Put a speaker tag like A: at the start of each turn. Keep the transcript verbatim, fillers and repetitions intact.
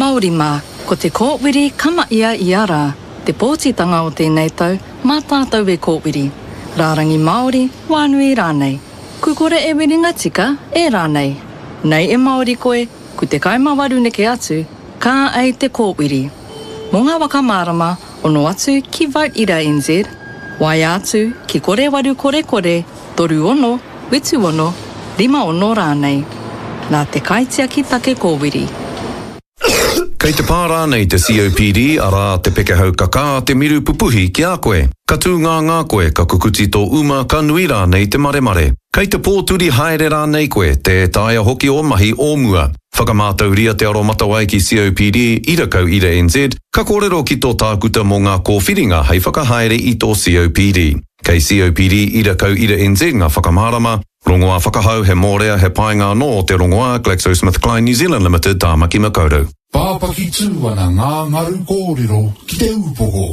A: Māori mā, ko te kōwiri kama ia ia rā, te pōtitanga o tēnei tau, mā tātou e kōwiri. Rārangi Māori, wānui rānei. Ku kore e wiringa tika, e rānei. Nei e Māori koe, ku te kaima waru neke atu, ka ei te kōwiri. Mō ngā whakamārama, ono atu ki Vote Ira N Z, waea atu ki kore waru kore kore, toru ono, whitu ono, rima ono rānei. Nā te Kaitiaki Take Kōwiri.
B: Kei te pā rānei te C O P D, arā te pekehau kakā, te miru pupuhi ki a koe. Ka tū ngā ngā koe, ka kukuti tō uma, ka nui rānei te maremare. Kei te pōturi haere rānei koe, tē taea hoki o mahi o mua. Whakamātauria te aromatawai ki C O P D, ira kau ira N Z, ka kōrero ki tō tākuta mō ngā kōwhiringa hei whakahaere i tō C O P D. Kei C O P D ira kau ira N Z ngā whakamārama, rongoā whakahau he mōrea he painga anō o te rongoā GlaxoSmithKline New Zealand Limited, Tāmaki Makaurau.
C: Pāpaki tū ana ngā ngaru kōrero ki te upoko.